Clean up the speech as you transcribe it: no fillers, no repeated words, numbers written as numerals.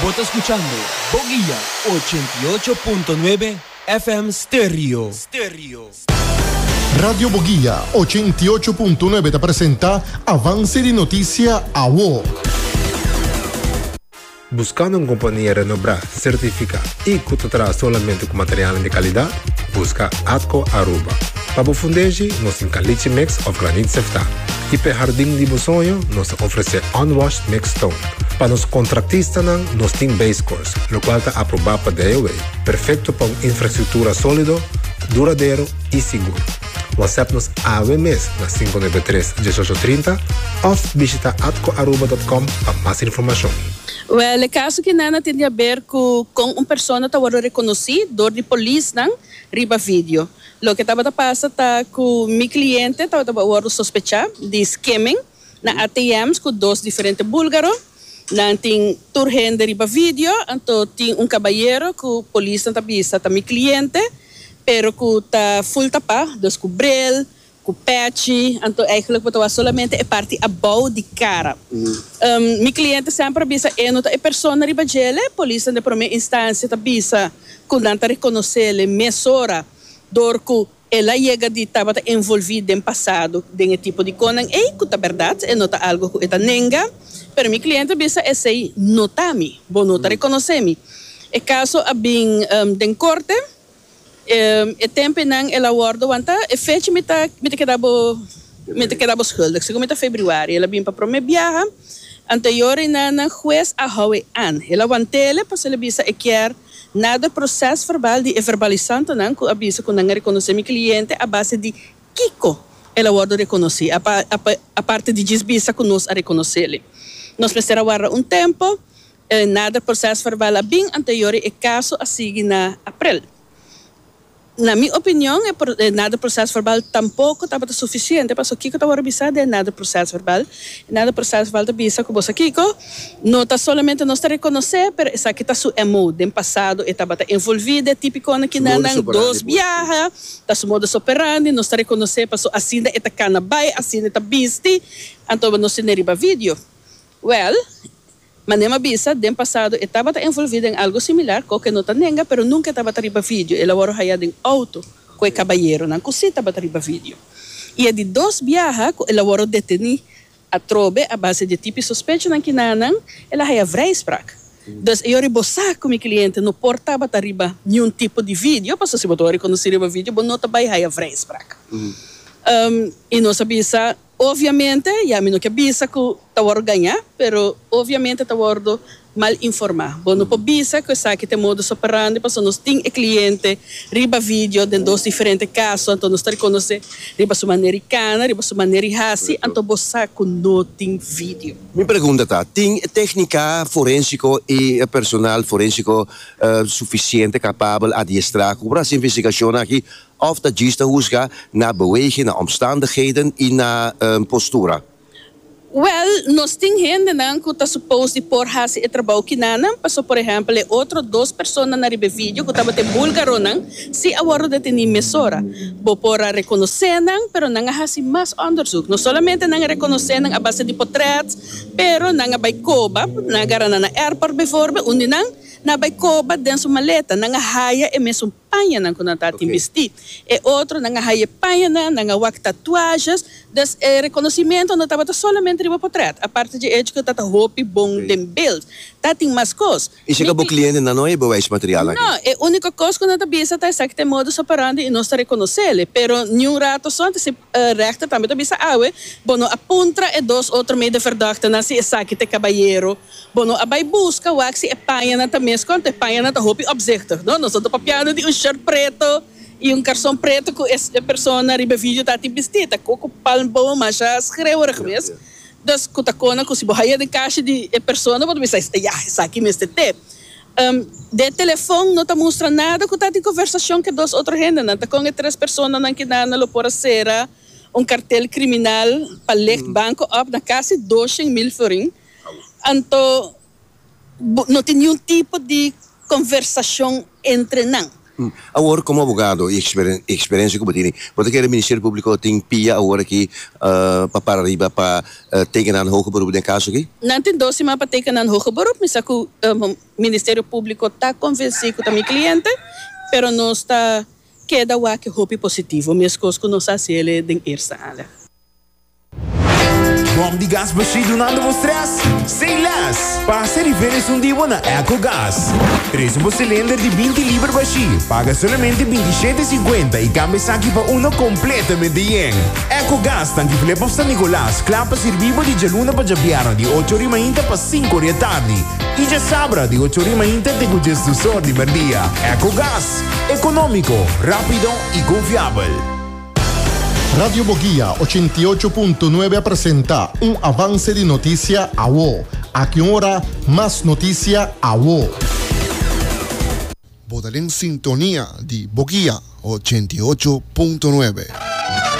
Bo ta skuchando Boguia 88.9 FM Stereo. Radio Boguia 88.9 ta presenta Avance di Noticia Awo. Buscando un compania renobrá, certificá y cu ta traha solamente cu materialnan di calidad? Busca Atco Aruba. Pa bo fundeshi, nos tin caliche mix of granit seftá. Y p'e hardin di bo soño, nos ta ofrece unwashed mixed stone. Pa nos contractistanan, nos tin base course, locual ta aprobá pa DOW, perfecto pa un infrastructura solido, duradero y sigur. WhatsApp nos awe mes na 593 1830 of bishita atcoaruba.com pa mas informacion. Wel, e caso ki nan a tin di haber cu con un persona ta wordo reconoci door di polisnan riba video. Loke tabata pasa ta cu mi cliente tabata wordo sospecha di skimming na ATM's cu dos diferente bulgaro. Nan tin tur hende riba video, anto tin un cabayero cu polisnan ta bisa ta mi cliente, pero cu ta full tapa, dus cu bril, cu pechi, anto eigenlijk bo ta wak solamente e parti abou di cara. Mi cliente semper a bisa e no ta e persona riba djele, polisnan den prome instancia ta bisa cu nan ta reconocele mesora door cu El a yega di tabata envolví den pasado den e tipo di konan ei, ku ta bèrdat, e no ta algu ku e ta nenga, pero mi kliente a bisa esei no ta mi, bo no ta rekonosé mi. E kaso a bin den korte, e tempenan el a wòrdu wantá, e fecha mi ta mi ta keda bo mi ta keda bo schuldig, segun mi ta febrüari, el a bin pa promé biaha, anteyor einan nan hues a hou e an, el a want'ele pasobra el a bisa e kier Nader procesverbaal di e verbalisantonan cu a bisa cu nan a reconoce mi cliente a base di kico el a wordo reconoci, aparte di djis bisa cu nos a reconocele. Nos mester a warda un tempo, e nader procesverbaal a bin anterior y e caso a sigui na april. Na mi opinion e nader procesverbaal tampoco tabata suficiente pasobra kico ta worde bisa den e nader procesverbaal? E nader procesverbaal ta bisa cu bo sa kico, no ta solamente nos ta reconoce pero esaki ta su MO. Den pasado e tabata envolvi den tipiconan kinanan dos biaha, ta su modus operandi, nos ta reconoce pasobra asina e ta cana bay, asina e ta bisti, anto nos tene riba video. Well, Manera mi a bisa, den pasado e tabata envolví den algo similar, koke no ta nenga, pero nunka e tabata riba video. El a wòrdu hayá den outo ku e kabayeronan ku sí tabata riba video. I e di dos biaha ku el a wòrdu detení atrobe a base di e tipi sospechonan kinanan, el a haya vrijspraak. Dus e yori bo sa ku mi kliente no por tabata riba niun tipo di video, pasobra si bo ta wòrdu rekonosí riba video bo no ta bai haya vrijspraak. I nos a bisa. Obviamente, ya mi no ke bisa ku ta wòrdu gañá, pero obviamente ta wòrdu mal informá. Bo no por bisa ku esaki ta e modus operandi pasobra nos tin e kliente riba video den dos diferente kaso, anto nos ta rekonosé riba su manera di kana, riba su manera di hasi, anto bo sa ku no tin video. Mi pregunta ta, tin téknika forensiko i personal forensiko sufisiente kapabel, adiestrá ku por hasi investigashon aki Of ta djis ta husga na beweging, na omstandigheden i na postura? Wel, nos tin hendenan ku ta supos di por hasi e trabou kinanan, paso por ehèmpel e otro dos personanan riba e video ku tabata e búlgaronan si a wòrdu detení mesora. Bo por a rekonosé nan, pero nan a hasi mas òndersuk. No solamente nan a rekonosé nan a base di potrèt, pero nan a bai koba, nan a gara nan na airport bijvoorbeeld, un di nan, nan a bai koba den su maleta, nan a haya e mesun. pañanan ku nan ta tin bistí. E otronan a haya e pañanan, nan a wak tatuajes. Dus e rekonosimentu no tabata solamente riba potrèt. Aparte dje echo ku ta ta hopi bon den beeld, ta tin mas kos. I si ka bo klientenan no e bewijsmateriaal aki? No, e úniko kos ku nan ta bisa ta esaki ta e modus operandi i nos ta rekonosele. Pero niun rato so antes e rechter tambe ta bisa awe, bo no a puntra e dos otro medeverdachten si esaki ta e kabayero. Bo no a bai buska wak si e pañanan ta mes konta. E pañanan ta hopi opzichtig, no? Nos no ta papiando di un shirt preto i un karson preto ku e persona riba e video ta tin bistí. Ta koko palmboom masha schreeuwerig mes. Dus ku ta kona ku si bo haya den kashi di e persona bo ta bisa, ya, esaki mester te. Den telefon no ta mustra nada ku ta tin konversashon ku e dos otro hendenan. Ta kon e tres personanan kinan lo por a sera un kartel kriminal pa licht banko op na kasi 200,000 florin. Anto bo no tin niun tipo di conversacion entre nan. Awor komo abogado i eksperensia ku bo tini, bo ta kere Ministerio Públiko tin pia awor aki pa para riba pa teken nan hoger beroep den e kaso aki? Nan tin dos siman pa teken nan hoger beroep. Mi sa ku Ministerio Públiko ta konvensí ku ta mi kliente, pero nos ta keda wak hopi positivo, meskos ku nos a hasi el den eerste aanleg. Bom di gas bashí dunando bo stress? Say less! Pasa riba esun di bo na Ecogas. Trese bo cilinder di 20 liber bashí, paga solamente 27,50 y cambia esaki pa uno completamente yen. Ecogas tanki Flip of San Nicolas, kla pa sirbi bo di djaluna pa djabièrnè di ocho ori mainta pa sinku ori atardi y djasabra di ocho ori mainta te cu djesdus or di merdia. Ecogas, economico, rapido y confiabel. Radio Boguia 88.9 a presenta un avance di noticia awo. Aki un ora, mas noticia awo. Bo ta den sintonia di Boguia 88.9.